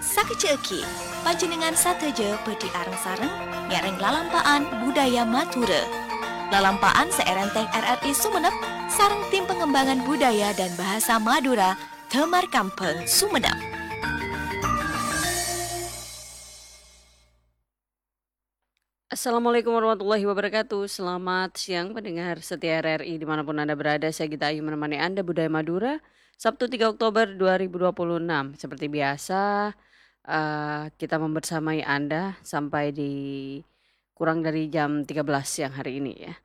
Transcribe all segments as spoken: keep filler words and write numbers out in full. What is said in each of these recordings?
Sakejjhâ'âghi, panjhennengngan sadhâjâ bhâdhi areng-sareng nyarèng lalampa'an budaya Madhurâ. Lalampa'an sè èrèntèng R R I Sumenep sareng Tim Pengembangan Budaya dan Bahasa Madura, Damar Kambhâng, Sumenep. Assalamualaikum warahmatullahi wabarakatuh. Selamat siang pendengar setia R R I dimanapun Anda berada. Saya Gita Ayu menemani Anda, Budaya Madura, Sabtu tiga Oktober dua ribu dua puluh enam. Seperti biasa, eh, kita membersamai Anda sampai di kurang dari jam tiga belas siang hari ini, ya.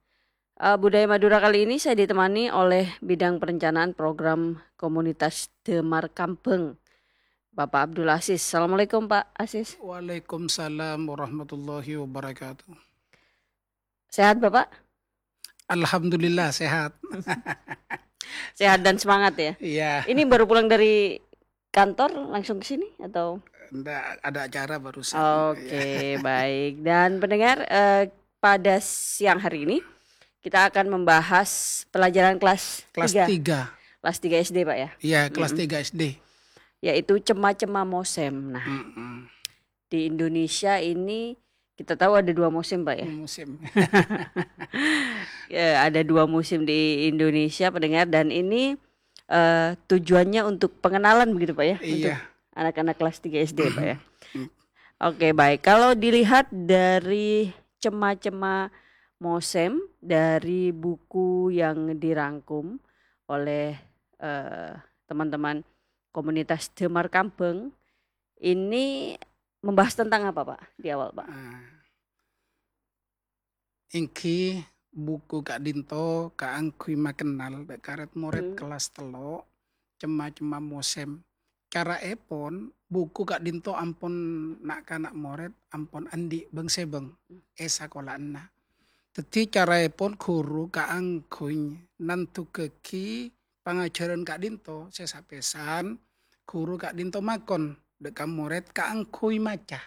Eh, Budaya Madura kali ini saya ditemani oleh Bidang Perencanaan Program Komunitas Damar Kambhâng, Bapak Abdul Aziz. Assalamualaikum, Pak Aziz. Waalaikumsalam warahmatullahi wabarakatuh. Sehat, Bapak? Alhamdulillah, sehat. Sehat dan semangat, ya? Iya. Ini baru pulang dari kantor, langsung ke sini, atau? Ndak, ada acara barusan. Oke, iya. Baik. Dan pendengar, eh, pada siang hari ini, kita akan membahas pelajaran kelas Kelas tiga. tiga. Kelas tiga S D, Pak, ya? Iya, kelas Mm-mm. tiga S D. Yaitu cema-cema mosem. Nah, Mm-mm. di Indonesia ini kita tahu ada dua musim, Pak, ya? Musim. Ya, ada dua musim di Indonesia, pendengar, dan ini, eh, tujuannya untuk pengenalan begitu, Pak, ya? Untuk Iya. anak-anak kelas tiga S D, Pak, ya? Mm. Oke, baik. Kalau dilihat dari cema-cema mosem, dari buku yang dirangkum oleh, eh, teman-teman komunitas Damar Kambhâng, ini membahas tentang apa, Pak, di awal, Pak? Ah. Èngghi buku ka'dinto kaangghuy makennal dâ' ka rèd-morèd Hmm. kelas tello', cema-cema mosem. Caraèpon, buku ka'dinto ampon na'-kana' morèd ampon andi' bâng-sèbâng Hmm. è sakola'anna. Dhâddhi caraèpon ghuru kaangghuy nandhughâghi pangajhârân ka'dinto sè sapèsan, ghuru ka'dinto makon dâ' ka morèd kaangghuy maca.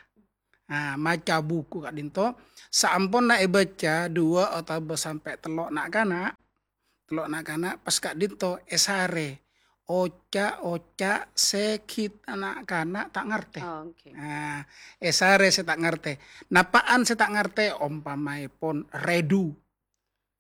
Nah, maca buku ka'dinto, saamponna èbâca duwâ' otabâ sampè' tello' na'-kana', tello' na'-kana' pas ka'dinto èsarè oca'-oca' sè ghi' na'-kana' ta' ngartè. Oh, oke. Nah, èsarè sè ta' ngartè. Napa'an sè ta' ngartè? Ompamaèpon rèdu.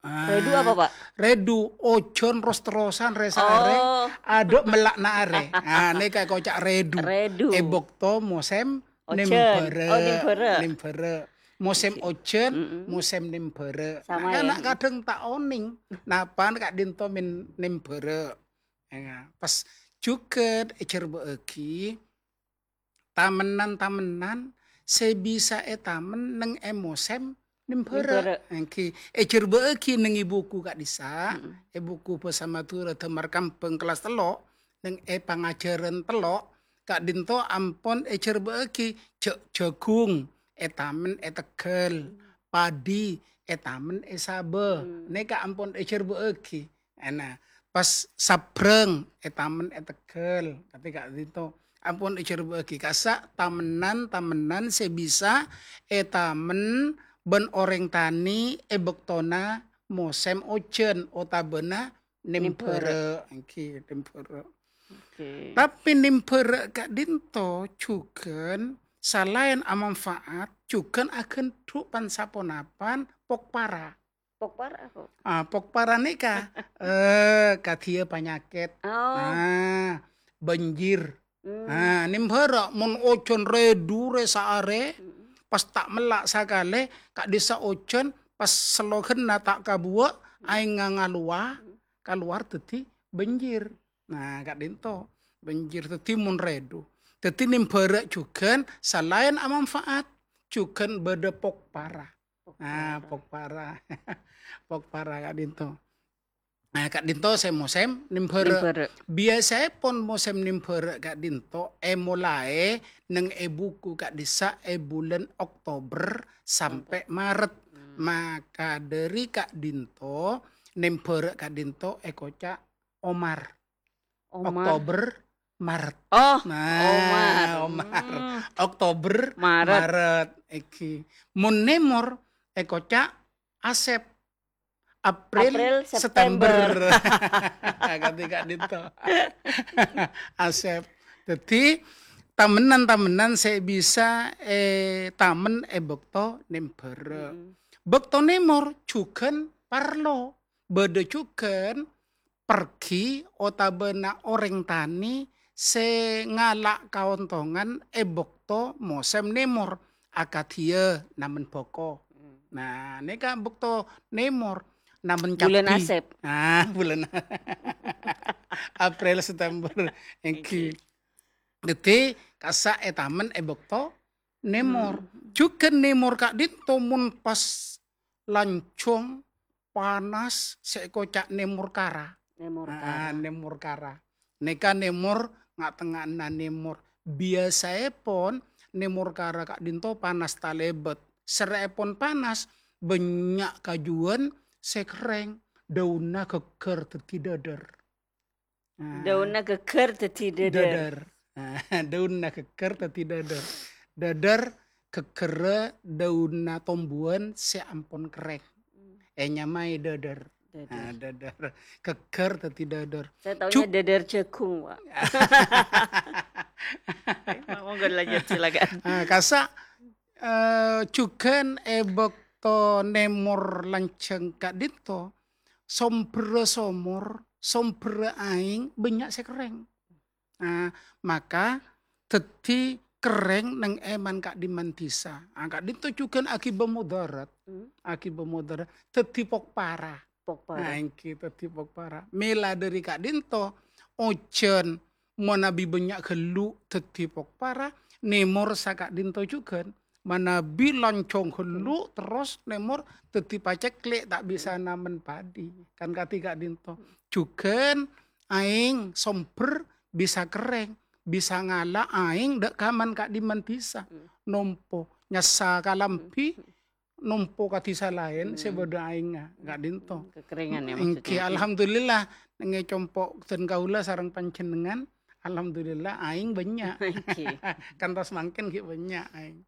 Ah, Rèdu apa, Pak? Rèdu, ojhân ros-terrosan rè-saarè, Oh. adâ' mella'na arè. Ah, nèka èkoca' rèdu. Rèdu. È bâkto mosèm Ojhân. Nèmbhârâ'. Oh, nèmbhârâ'. Nèmbhârâ'. Mosèm Ojhân. ojhân, Mm-mm. mosèm nèmbhârâ'. Sama, Nah, ya? Kana' kadhâng ta' onèng, napa'an ka'dinto mèn-, nèmbhârâ'. Ya, pas jhughân èjhârbâ'âghi tamennan-tamennan sè bisa ètamen neng è mosèm nèmbhârâ'. Nèmbhârâ'. Èngghi èjhârbâ'âghi neng è buku ka'dissa', Mm-mm. è buku bhâsa Madhurâ Damar Kambhâng kellas tello', neng è pangajhârân tello', ka'dinto ampon èjhârbâ'âghi jhâ'-, jhâghung ètamen è Tegghâl, padhi ètamen è Sabâ. Hmm. Nèka ampon èjhârbâ'âghi. Èna, pas sabrâng ètamen è Tegghâl, ka'dinto ka'dinto. Ampon èjhârbâ'âghi kassa' tamennan-tamennan sè bisa ètamen bân orèng tanè è bâktona mosèm ojhân otabâna Nèmbhârâ'. nèmbhârâ', èngghi, nèmbhârâ'. Oke. Tapè nèmbhârâ' ka'dinto jhughân salaèn amanfaat, jhughân aghândhu' pan-saponapan pokpara. Pokpara apa? Ah, pokpara nèka, eh, kadhiyâ panyakèt. Oh. Nah, banjir. Hmm. Nah, nèmbhârâ' mon ojhân rèdu rè-saarè, Mm-mm. pas ta' mella' sakalè, ka'dissa' ojhân, pas selloghânna ta' kabuwâ', Mm. aèngnga ngalowa, Mm. kalowar dhâddhi banjir. Nah, ka'dinto, banjir dhâddhi mon rèdu. Dhâddhi nèmbhârâ' jhughân salaèn amanfaat, jhughân bâdâ pokpara. Nah, Pokpara. pokpara. Pokpara ka'dinto. Nah, ka'dinto sè mosèm nèmbhârâ'. Nèmbhârâ'. Biyasaèpon mosèm nèmbhârâ' ka'dinto èmolaè neng è buku ka'dissa' è bulân Oktober sampè' Maret. Hmm. Maka dhâri ka'dinto, nèmbhârâ' ka'dinto èkoca' Omar. Omar. Oktober, Maret. Oh, Nah, Omar. Omar. Hmm. Oktober, Maret. Maret. Èngghi. Mon nèmor èkoca' Asèp. April, April, September. September. Kadhi ka'dinto. Asèp. Dhâddhi, tamennan-tamennan sè bisa ètamen è bâkto nèmbhârâ. Mm-mm. Bâkto nèmor jhughân parlo. Bâdâ jhughân pergi otabâna orèng tanè sè ngala' kaontongan è bâkto mosèm nèmor, akadhiyâ namen bhâko. Hmm. Nah, nèka bâkto nèmor, namen Bulân cabbhi. Asèp. Ah, bulân April, September. Èngghi. Èngghi. Dhâddhi, kassa' ètamen è bâkto nèmor. Hmm. Jhughân nèmor ka'dinto mon pas lanjhâng panas sè èkoca' nèmor kara. Nèmor Ah, kara. Nèmor kara. Nèka nèmor nga'-tengnga'anna nèmor. Biyasaèpon nèmor kara ka'dinto panas talèbât. Sèrra'èpon panas, bânnya' kajuwân sè kerrèng, dâunna ghâgghâr dhâddhi dâdâr. Nah. Dâunna ghâgghâr dhâddhi dâdâr. Dâdâr. Nah, dâunna ghâgghâr dhâddhi dâdâr. Dâdâr ghâgghârrâ dâunna tombuwân sè ampon kerrèng. Hmm. Ènyamaè dâdâr. Dâdâr. Nah, dâdâr. Ghâgghâr dhâddhi dâdâr. Saya taunya Ju- dâdâr jagung, Pak. Monggo lanjut, silakan. Ah, kassa', eh, jhughân è bâkto nèmor lanjhâng ka'dinto, sombherra somor, sombherra aèng bânnya' sè kerrèng. Nah, maka dhâddhi kerrèng neng èman ka'dimman dhisa. Ah, ka'dinto jhughân aghibâ modarat. Hmm. Aghibâ modarat. Dhâddhi pokpara. Pokpara. Nah, èngghi dhâddhi pokpara. Mèla dhâri ka'dinto, ojhân manabi bânnya' ghâllu dhâddhi pokpara, nèmor saka'dinto jhughân. Manabi lanjhâng ghâllu, terros nèmor dhâddhi pacèklè', ta' bisa namen padi. Kan kadhi ka'dinto. Jhughân aèng sombher bisa kerrèng, bisa ngala' aèng dâ' kaman ka'dimman dhisa. Hmm. Nompo, nyassa kalambhi, Hmm. nompo ka dhisa laèn sè Hmm. bâdâ aèngnga, ka'dinto. Hmm, kekerengan ya Èngghi, maksudnya. Alhamdulillah, neng è compo' dân kaulâ sareng panjhennengngan, alhamdulillah, aèng bânnya'. Èngghi. Kantos mangkèn ghi' bânnya' aèng.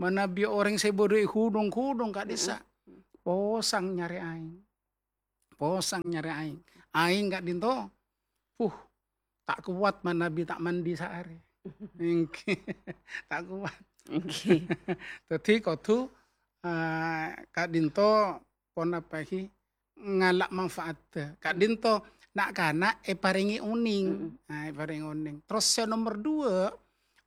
Manabi orèng sè bâdâ è ghudhung-ghudhung ka'dhissa', Mm-mm. posang nyarè aèng. Posang nyarè aèng. Aèng ka'dinto, puh, ta' kowat manabi ta' mandi saarè. Èngghi. Ta' kowat. Èngghi. Dhâddhi kodhu, eh, ka'dinto ponapa ghi ngala' manfaat. Ka'dinto na'-kana' èparèngè onèng. Mm-mm. Nah, èparèngè onèng. Terros sè nomer dua,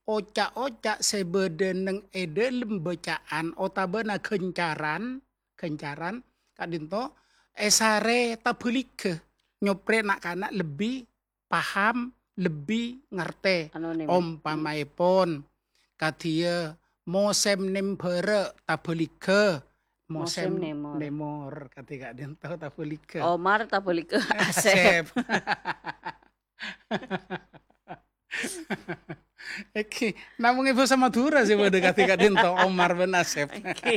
oca'-oca' sè bâdâ neng è dâlem bâcaan otabâna ghâncaran, ghâncaran, ka'dinto èsarè tabhâligghâ, nyoprè na'-kana' lebbi paham, lebbi ngartè. Ano, nèmor. Ompamaèpon, kadhiyâ mosèm nèmbhârâ tabhâligghâ, mosèm Mosèm nèmor. nèmor, kadhi ka'dinto tabhâligghâ. Omar tabhâligghâ Asèp. Asèp. Èngghi, namong è bhâsa Madhurâ sè bâdâ kadhi ka'dinto, Omar bân Asèp. Èngghi.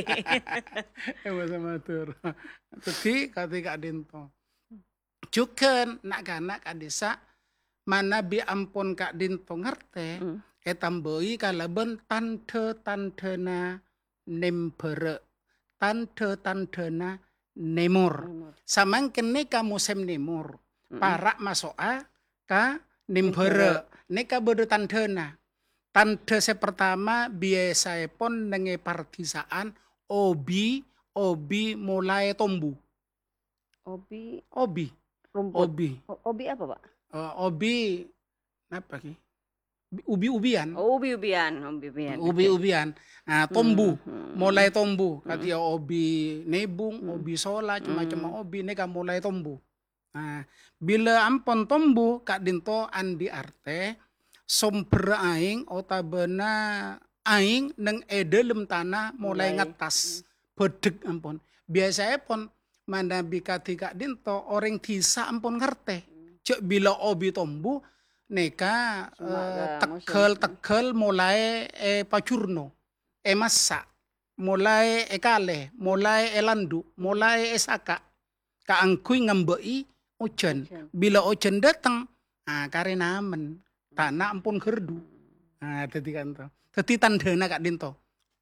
È bhâsa Madhurâ. Dhâddhi, kadhi ka'dinto. Jhughân na'-kana' ka'dhissa' manabi ampon ka'dinto ngartè, Hmm. ètambâi kalabân tandhâ-tandhâna nèmbhârâ, tandhâ-tandhâna nèmor. Nèmor. Samangkèn nèka mosèm nèmor, Hmm. para' maso'a ka nèmbhârâ. Nèmbhârâ. Nèka bâdâ tandhâna. Tandhâ sè partama biyasaèpon neng è pardhisa'an obi, obi molaè tombu. Obi. Obi. Rumput. Obi. O-, obi apa, Pak? Eh, obi, napa ki? Ubi-ubian. Oh, ubi-ubian, ubi-ubian. Oke. Ubi-ubian. Nah, tombu. Hmm, hmm. Molaè tombu. Hmm. Kadhiyâ obi nèbung, Hmm. obi sola, cem-macem Hmm. obi, nèka molaè tombu. Nah, bilâ ampon tombu, ka'dinto andi' artè, sombherra aèng otabâna aèng neng è dâlem tana molaè Molaè. ngattas. Hmm. Bâdhek ampon. Biyasaèpon, manabi kadhi ka'dinto, orèng dhisa ampon ngartè. Hmm. Jâ' bilâ obi tombu, nèka, Cuma eh, ka musim. tegghâl-tegghâl molaè èpajurno, èmassa', molaè èkalè, molaè èlandu', molaè èsaka', kaangghuy ngambâ'i ojhân. Ojhân. Bilâ ojhân dâteng, ah, karè namen, tana ampon ghârdhu. Hmm. Ah, dhâddhi kanto. Dhâddhi tandhâna ka'dinto,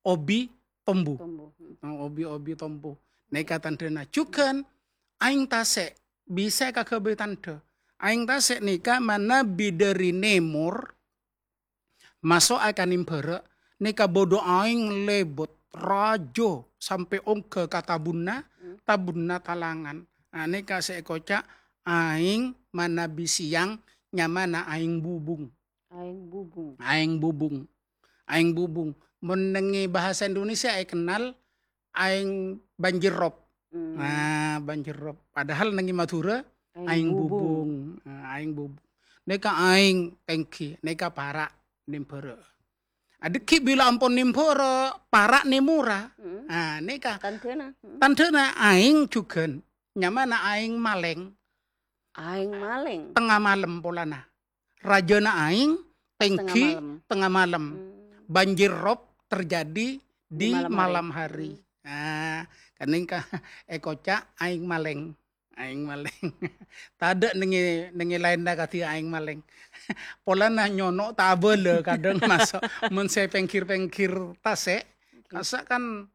obi tombu. Tombu. Hmm. Oh, obi-obi tombu. Nèka tandhâna. Jhughân, aèng tasè' bisa èkaghâbây tandhâ. Aèng tasè' nèka manabi dâri nèmor, maso'a ka nèmbhârâ', nèka bâdâ aèng lèbât, rajâ, sampè' ongghâ ka tabunna, Hmm. tabunna talangan. Nah, nèka sè èkoca' aèng manabi sèyang, nyamana aèng bubung. Aèng bubung. Aèng bubung. Aèng bubung. Mon nèngè bahasa Indonesia èkennal aèng banjir rob. Hmm. Nah, banjir rob. Padahal nèngè Madhurâ, Aèng aèng bubung. bubung. Nah, aèng bubung. Nèka aèng tèngghi, nèka para' nèmbhârâ'. Adhâggi' bilâ ampon nèmbhârâ', para' nèmorra. Hmm. Nah, nèka Tandhâna. Hmm. tandhâna aèng jhughân. Nyamana aèng malèng. Aèng malèng. Tengnga malem polana. Rajâna aèng, Tengnga tèngghi, malem. tengnga malem. Hmm. Banjir rob terjadi di Di malam hari. malam hari. Hmm. Nah, ka'dinto èkoca' aèng malèng. Aèng malèng. Tadâ' nèngè, nèngè laènna kadhi aèng malèng. Polana nyono' ta' abâlâ kadhâng maso'. Mon sè pèngghir-pèngghir tasè', Oke. kassa' kan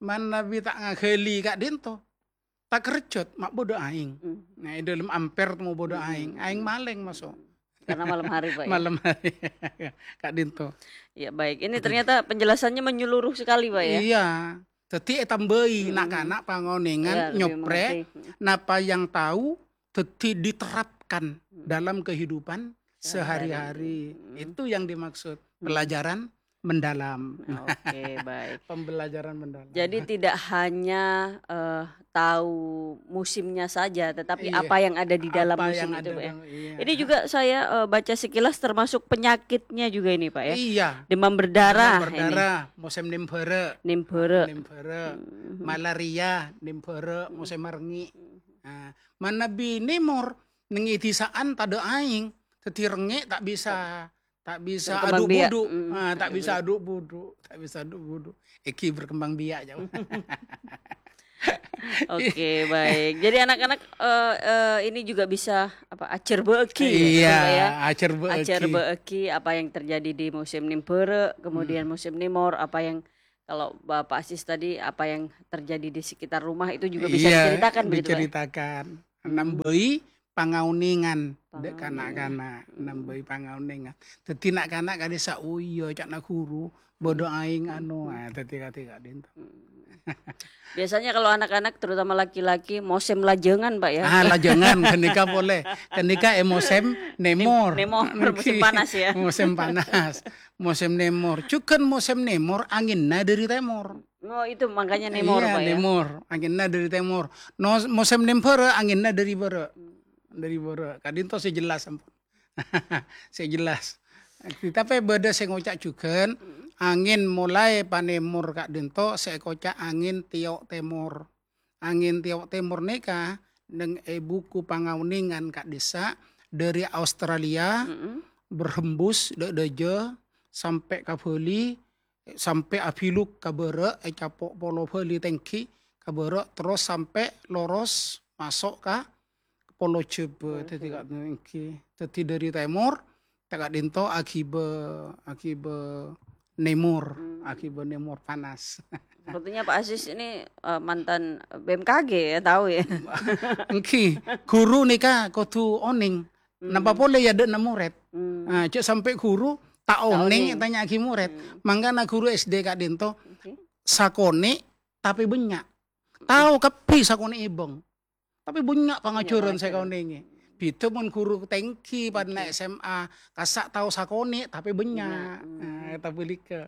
manabi ta' ngaghâli ka'dinto. Ta' kerjot, ma' bâdâ aèng. Hmm. Nah, è dâlem ampèr temmo bâdâ Hmm. aèng. Aèng malèng maso'. Karena malam hari, Pak, ya? Malam hari. Ka'dinto. Ya, baik. Ini ternyata penjelasannya menyeluruh sekali, Pak, ya? Iya. Jadi ètambâi Hmm. na'-kana' pangonèngan Iya, lebih nyoprè, mengerti. Hmm. napa yang tahu, jadi diterapkan Hmm. dalam kehidupan Sehari-hari. sehari-hari. Hmm. Itu yang dimaksud Hmm. pelajaran mendalam. Oke, baik. Pembelajaran mendalam. Jadi tidak hanya, eh, tahu musimnya saja, tetapi Iya. apa yang ada di dalam Apa musim yang itu, ada Pak, ya? dalam, iya. Ini juga saya, eh, baca sekilas termasuk penyakitnya juga ini, Pak, ya? Iya. Demam berdarah Demam ini. berdarah, musim nèmbhârâ'. Nèmbhârâ'. Nèmbhârâ'. Hmm. Malaria, nèmbhârâ', Hmm. musim marengngè'. Hmm. Nah, manabi nèmor, nèngè dhisa'an tadâ' aèng, dhâddhi rengngè' ta' bisa, ta' bisa Berkembang biak. adhu'-budhu'. Hmm, Ah, ta' hmm, bisa hmm. adhu'-budhu', ta' bisa adhu'-budhu'. Èngghi berkembang biak, jâ. Oke, baik. Jadi anak-anak, eh, eh, ini juga bisa, apa, ajhârbâ'âghi, ya, Iya, Pak, ya? ajhârbâ'âghi. Ajhârbâ'âghi apa yang terjadi di musim nèmbhârâ', kemudian Hmm. musim nèmor, apa yang, kalau Bapak Asis tadi, apa yang terjadi di sekitar rumah itu juga bisa Iya, diceritakan begitu, Pak? diceritakan. Hmm. Nambâi pangaonèngan dâ' Pangaonèngan. kana'-kana', Hmm. nambâi pangaonèngan. Dhâddhi na'-kana' kadhisa', "Oh iya, ca'na ghuru, bâdâ aèng anu." Hmm. Ah, dhâddhi kadhi ka'dinto. Hmm. Biasanya kalau anak-anak, terutama laki-laki, musim lajângan, Pak, ya? Ah, lajângan, ghânèka polè. Ghânèka è musim nèmor. Nèmor, musim Nènggi. panas, ya? Musim panas. Musim nèmor. Jhughân musim nèmor, angènna dâri tèmor. Oh, itu makanya nèmor, Iya, Pak, ya? nèmor. Angènna dâri tèmor. No, musim nèmbhârâ', angènna dâri bârâ'. Hmm. Dâri bârâ'. Ka'dinto sè jelas, ampon. Sè jelas. Tapè bâdâ sè ngoca' jhughân, Hmm. angèn molaè panèmor ka'dinto sè èkoca' angèn tèyo' tèmor. Angèn tèyo' tèmor nèka nèng è buku pangaonèngan ka'dhissa' dâri Australia, Mm-mm. berhembus dâ'-, dâjâ sampè' ka Bali, sampè' abiluk ka bârâ', ècapo' polo Bali tènggi ka bârâ', terros sampè' loros maso' ka Polo Jhâbâ. Polo Dhâddhi Jhâbâ. Ka'dinto èngghi. Dhâddhi dâri tèmor, ta' ka'dinto aghibâ, aghibâ nèmor, Hmm. aghibâ nèmor panas. Sepertinya Pak Aziz ini, eh, mantan B M K G ya, tahu ya? Èngghi, ghuru nèka kodhu onèng. Hmm. Napa polè ya dâ' na morèd. Hmm. Nah, jhâ' sampè' ghuru ta' Ta' onèng onèng. ètanya'aghi morèd. Hmm. Mangkana ghuru S D ka'dinto Oke. sakonè' tapè bânnya'. Hmm. Tao kabbhi sakonè' èbâng. Tapè bânnya' pangajhârân Bânnya' sè pangajhârân. kaonèngè. Bhidhâ mon ghuru tèngghi, padâna Oke. S M A, kassa' tao sakonè', tapè bânnya'. Bânnya', hmm. Nah, èta bâlikka.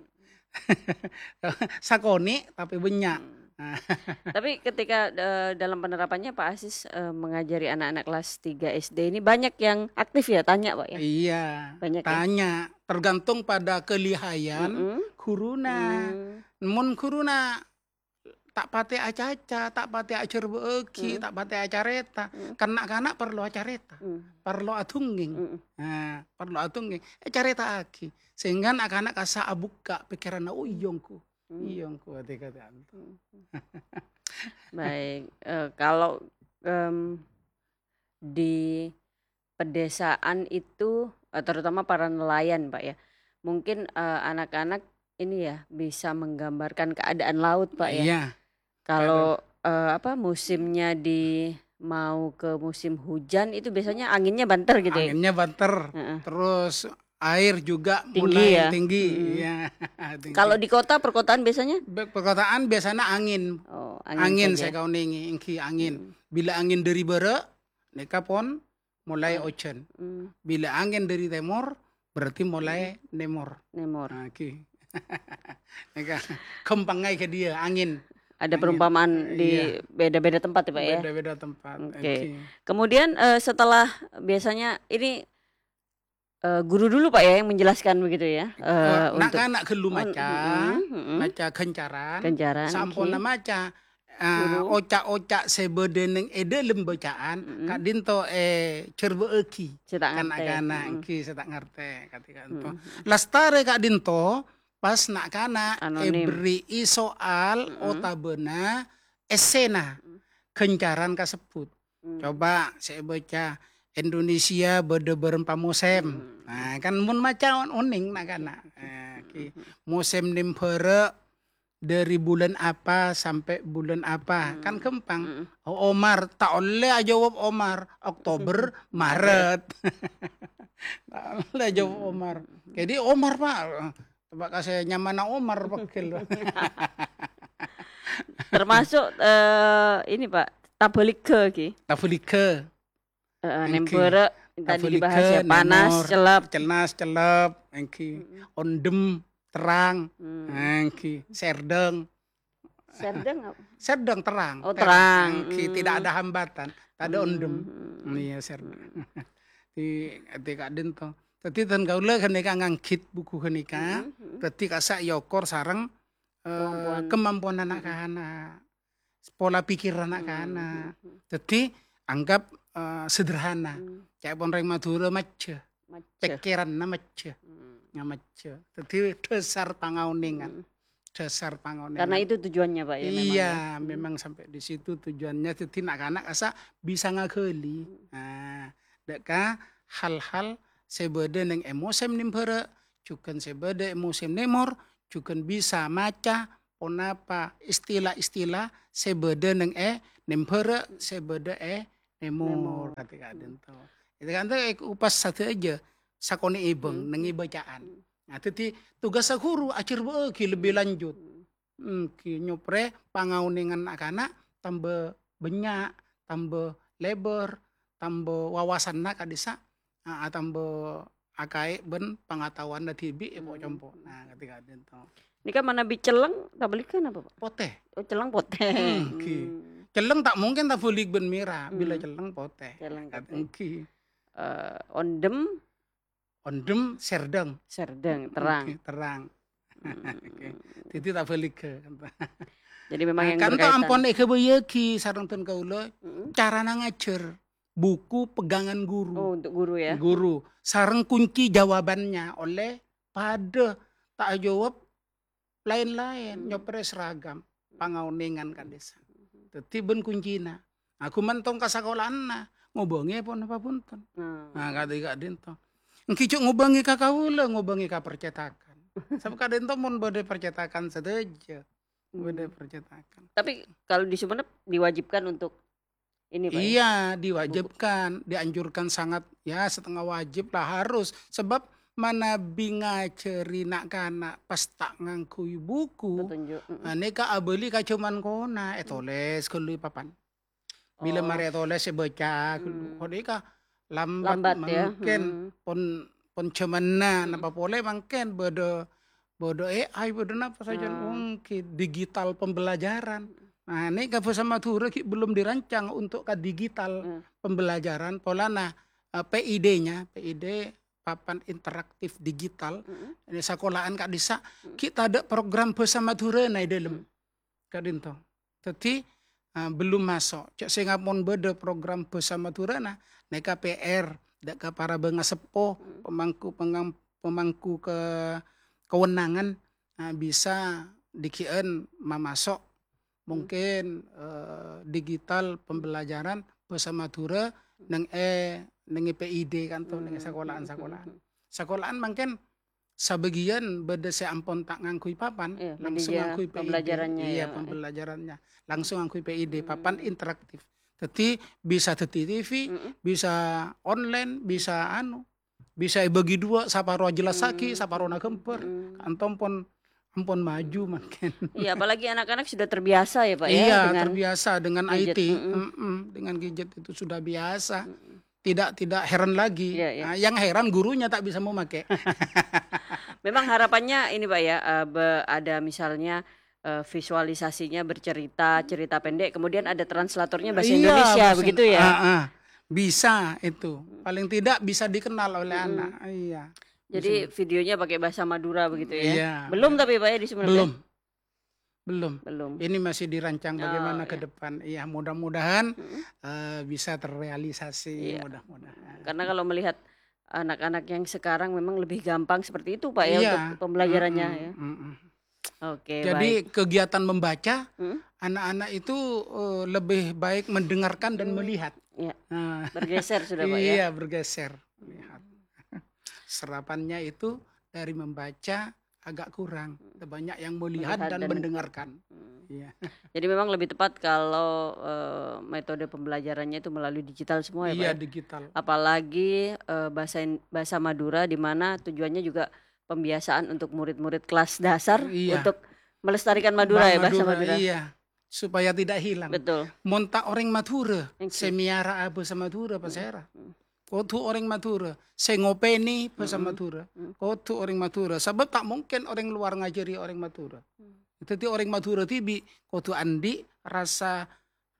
Sakonè', tapè bânnya'. Hmm. Nah. Tapi ketika, eh, dalam penerapannya Pak Aziz, eh, mengajari anak-anak kelas tiga S D ini banyak yang aktif ya, tanya, Pak, ya? Iya, Banyak ya? tanya. Tergantung pada kelihayan Mm-mm. ghuruna. Hmm. Mon ghuruna ta' patè acaca, ta' patè ajhârbâ'âghi, Hmm. ta' patè acarèta. Hmm. Kan na'-kana' parlo acarèta, Hmm. parlo adhungngèng. Hmm. Nah, parlo adhungngèng, ècarèta'aghi. Sehingga na'-kana' kassa' abukka' pèkkèranna, "Oh, iyâ, ongghu. Hmm. Iyâ, ongghu, ati-kati." Hmm. Baik, eh, kalau, em, di pedesaan itu, eh, terutama para nelayan, Pak, ya. Mungkin, eh, anak-anak ini ya bisa menggambarkan keadaan laut, Pak, ya. Iya. Kalau, Aduh. eh, apa, musimnya di, mau ke musim hujan itu biasanya anginnya banter gitu ya? Anginnya banter. Heeh. Terus air juga Tinggi, mulai ya? tinggi, Hmm. ya, tinggi. Kalau di kota, perkotaan biasanya? Be-, perkotaan biasanya angin. Oh, angin Angin saja. saya kaonenge, enggi angin. Hmm. Bila angin dari barat, neka pon mulai Oh. ojan. Hmm. Bila angin dari timur, berarti mulai Hmm. nemor. Nemor. Nah, ki. Neka gampang aja ke dia, angin. Ada Angin. perumpamaan di Iya. beda-beda tempat ya, Pak, ya? Beda-beda tempat. Oke. Oke. Kemudian, eh, setelah biasanya ini, eh, guru dulu, Pak, ya, yang menjelaskan begitu ya? Eh, Eh, untuk nak-, nak gelu Oh, maca, mm, mm, mm. maca gancaran, Gancaran, samponna oke. maca, eh, Guru. oca'-oca' se bade neng e dalem bacaan, Mm, mm. ka'dinto e cerbe'agi Se ta' ka ngarte. na'-kana', Mm. enggi se ta' ngarte, ka'dinto. Mm, mm. Lastare ka'dinto, pas na'-kana' Anonim. eberri'i soal Mm, mm. otabana essena Mm. gancaran kasebbut. Hmm. Coba saya baca, "Indonesia bade berempa mosem." Hmm. Nah, kan mun maca on-, oning na'-kana'. Hmm. Eh, ki, Hmm. mosem nembhara dari bulan apa sampai bulan apa. Hmm. Kan gampang. Hmm. Oh, Omar, ta' olle ajawab Omar. Oktober, Hmm. Maret. Ta' olle ajawab Hmm. Omar. Jadi Omar, Pak. Coba kasih nyamana Omar, pegel. Termasuk, eh, ini, Pak, tabaligha ki. Tabaligha. Heeh, Enggi. nembara tadi Tabaligha, dibahas ya, panas, nemor, celep. celnas, celep, enggi. Mm-mm. Ondem, terang, Mm. enggi. Serdeng. Serdeng apa? Serdeng, terang. Oh, Ter-, terang. enggi. Tidak Mm. ada hambatan, tak ada Mm. ondem. Mm. Iya, serdeng. Mm. Di, di kadin to. Dadi ten kaula ganeka nganggit buku ganeka. Mm-mm. Dadi kasa' yokor sareng, eh, Kemampuan. kemampuan Mm-mm. anak-anak. Pola pikir anak-anak. Hmm, hmm, hmm. Dadi, anggap, eh, sederhana. Hmm. Ca'epon reng Madura majjhâ. Majjhâ. Pikiranna majjhâ. Hmm. Nga majjhâ. Dadi, dasar pangaonèngan. Hmm. Dasar pangaonèngan. Karena itu tujuannya, Pak, ya, memang, Iya, ya. Hmm. memang sampai di situ tujuannya. Dadi, anak-anak asa bisa ngaghâli. Hmm. Nah, dâ' ka hal-hal sè bâdâ neng è mosèm nèmbhârâ', jhughân sè bâdâ è mosèm nèmor, jhughân bisa maca, ponapa istilah-istilah sè bâdâ neng è nèmbhârâ', sè bâdâ è nèmor, Nèmor. kadhi-kadhinto. Itu kan tuh ekupas sadhâjâ sakonè' è bâng, Hmm. neng è bacaan. Hmm. Nah, dhâddhi tugas ghuru ajhârbâ'âghi lebbi Hmm. lanjut. Hmm. Hmm, ghi nyoprè pangaonèngan na'-kana' tambâ bânnya', tambâ lèbâr, tambâ wawasanna ka'dissa', a-, atambâ akaè bân pangataowanna dhibi' è Hmm. po-compo'. Nah, kadhi-kadhinto. Nèka manabi celleng, tabaligghâ napa, Pak? Potè. Oh, celleng potè. Hmm, ghi. Hmm. Celleng ta' mungkin tabalig bân mèra, bilâ Hmm. celleng potè. Celleng Kad-, potè. Ghi. Eh, ondhem? Ondhem serdheng. Serdheng, terang. Ghi, terang. Hmm. Ghi. Dhâddhi tabaligghâ. Jadi memang Nah, yang kan to berkaitan. ampon èghâbâyyâghi sareng dhân kaulâ, Mm-mm. carana ngajhâr. Buku pegangan guru. Oh, untuk guru ya? Guru. Sareng kunci jawabannya oleh padâ ta' ajâwâb laèn-laèn, Hmm. nyoprè seragam, pangaonèngan ka'dissa'. Dhâddhi bân kuncina. Nah, ghumantong ka sakolaanna, ngobângè ponapa bhunten. Hmm. Nah, kadhi-kadhinto. Èngghi jhâ' ngobângè ka kaulâ, ngobângè ka percetakan. Sabâb ka'dhinto mon bâdâ percetakan sadhâjâ. Bâdâ Hmm. percetakan. Tapi kalau di Sumenep diwajibkan untuk ini, Pak, ya? Iya, Buku. diwajibkan, dianjurkan sangat, ya, setengah wajib lah, harus. Sebab manabi ngajhâri na'-kana' pas ta' ngangghuy buku, Petunjuk, mm-mm. nah, nèka abâli ka jhâman kona, Hmm. ètolès ghâllu è papan. Bilâ Oh. marè ètolès èbâca ghâllu. Hmm. Kok nèka lambat Lambat, ya? mangkèn Hmm. pon, pon jhâmanna, Hmm. napa polè mangkèn bâdâ bâdâ A I, bâdâ napa sajân, Oh. ongkè digital pembelajaran. Nah, nèka bhâsa Madhurâ ghi' belum dirancang untuk ka digital Hmm. pembelajaran, polana, eh, P I D-nya, P I D papan interaktif digital, Mm-mm. ini sakola'an ka'dissa', Mm. ghi' tadâ' program bhâsa Madhurâna è dâlem. Mm. Ka'dhinto. Dhâddhi, ah, belum maso'. Jhâ' sènga' mon bâdâ program bhâsa Madhurâna, nèka P R, dâ' ka para bângaseppo, Hmm. pemangku pengam-, pemangku ke-, kewenangan, ah, bisa dhighi'ân mamaso'. Hmm. Mungkin, eh, digital pembelajaran bhâsa Madhurâ Hmm. neng è, neng è P I D kan to, neng è Hmm. sakola'an-sakola'an. Hmm. Sakola'an mangkèn sabâgiyân bâdâ sè ampon ta' ngangghuy papan, Iya, langsung media ngangghuy P I D. pembelajarannya Iya, ya, eh. pembelajarannya. Langsung ngangghuy P I D, papan Hmm. interaktif. Dhâddhi bisa dhâddhi T V, Mm-mm. bisa online, bisa anu. bisa èbâgi duwâ', saparowa jelassaghi, saparona ghâmbhâr. Ka'anto pon, ampon maju mangkèn. Iya, apalagi anak-anak sudah terbiasa ya, Pak, ya, Iya, dengan terbiasa dengan gadget. I T. Mm-mm. Mm-mm, dengan gadget itu sudah biasa. Mm-mm. Tidak, tidak heran lagi. Iya, iya. Nah, yang heran gurunya tak bisa memakai. Memang harapannya ini, Pak, ya, eh, be-, ada misalnya, eh, visualisasinya bercerita, cerita pendek, kemudian ada translatornya bahasa Iya, Indonesia, bahasa begitu ya? Ah, ah. Bisa itu. Paling tidak bisa dikenal oleh Hmm. anak. Iya. Jadi Bisa. videonya pakai bahasa Madura begitu ya? Iya. Belum tapi, Pak, ya, di Sumenep ya? Belum. Belum. Belum. Ini masih dirancang Oh, bagaimana ke iya. depan. Iya, mudah-mudahan, Mm-mm. eh, bisa terrealisasi, Iya. mudah-mudahan. Karena kalau melihat anak-anak yang sekarang memang lebih gampang seperti itu, Pak, ya, Iya. untuk pembelajarannya, Mm-mm, ya. mm-mm. Oke, Jadi, baik. kegiatan membaca, Mm. anak-anak itu, eh, lebih baik mendengarkan dan Hmm. melihat. Iya. Nah. Bergeser sudah, Pak, ya. Iya, bergeser. Melihat. Serapannya itu dari membaca agak kurang. Hmm. Banyak yang melihat Melihat dan dan mendengarkan. Hmm. Iya. Jadi memang lebih tepat kalau, eh, metode pembelajarannya itu melalui digital semua ya, Pak, Iya, ya? digital. Apalagi, eh, bahasa in-, bahasa Madura di mana tujuannya juga pembiasaan untuk murid-murid kelas dasar Iya. untuk melestarikan Madura Bang ya, bahasa Madura, Madura. iya. Supaya tidak hilang. Betul. Mon ta' orèng Madhurâ, Oke. sè mèyara'a bhâsa Madhurâ, Hmm. pasèra? Hmm. Kodhu orèng Madhurâ, sè ngopènè bhâsa Hmm. Madhurâ. Hmm. Kodhu orèng Madhurâ. Sabâb ta' mungkin orèng luar ngajhâri orèng Madhurâ. Hmm. Dhâddhi orèng Madhurâ dhibi' kodhu andi' rasa,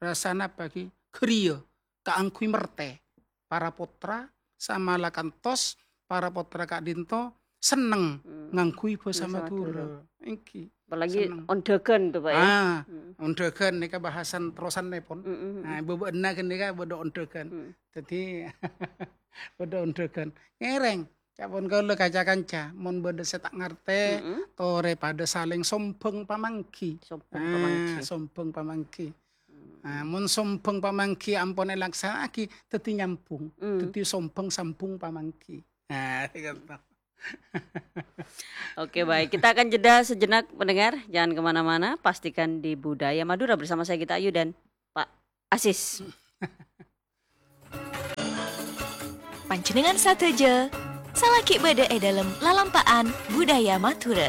rasa napa ghi? Ghâriyâ. Kaangghuy mertè. Para pottra samala kantos para pottra ka'dinto senneng Hmm. ngangghuy bhâsa Bhâsa Madhurâ. Madhurâ. Èngghi. Apalagi Senneng. ondhâghân tuh, Pak, ya? Ah, Hmm. ondhâghân nèka bahasan terrosannèpon. Hmm, hmm, hmm. Nah, bâbâ'na ghânèka bâdâ ondhâghân. Hmm. Dhâddhi, bâdâ ondhâghân. Ngèrèng, ca'èpon kaulâ kaca-kanca, mon bâdâ sè ta' ngartè, Hmm. torè padâ salèng sombhâng pamangghi. Sombhâng Ah, pamangghi. sombhâng pamangghi. Hmm. Ah, mon sombhâng pamangghi ampon èlaksana'aghi, dhâddhi nyambhung. Hmm. Dhâddhi sombhâng sambhung pamangghi. Ah, gitu. Oke, baik. Kita akan jeda sejenak, pendengar. Jangan kemana-mana. Pastikan di Budaya Madura bersama saya, Gita Ayu, dan Pak Asis. Panjhennengngan sadhâjâ, salaghi bâdâ è dâlem lalampa'an Budaya Madhurâ.